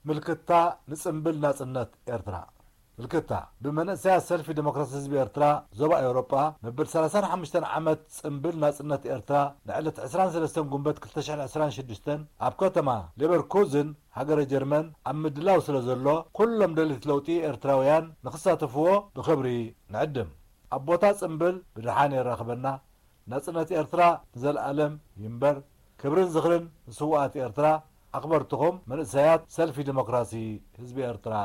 ምልክታ ንጽምብል ናጽነት ኤርትራ። ምልክታ ብመንእሰያት ሰልፊ ዲሞክራሲ ህዝቢ ኤርትራ ዞባ ኤውሮጳ መበል ሰላሳን ሓሙሽተን ዓመት ጽምብል ናጽነት ኤርትራ ንዕለት ዕስራን ሰለስተን ጉንበት ክልተ ሽሕን ዕስራን ሽዱሽተን ኣብ ከተማ ሌቨርኩዝን ሃገረ ጀርመን ኣብ ምድላው ስለ ዘሎ፣ ኩሎም ደለይቲ ለውጢ ኤርትራውያን ንኽሳተፍዎ ብኽብሪ ንዕድም። ኣብ ቦታ ጽምብል ብድሓን የራኽበና። ናጽነት ኤርትራ ንዘለኣለም ይንበር። ክብርን ዝኽርን ንስውኣት ኤርትራ። ኣኽበርትኹም መንእሰያት ሰልፊ ዲሞክራሲ ህዝቢ ኤርትራ።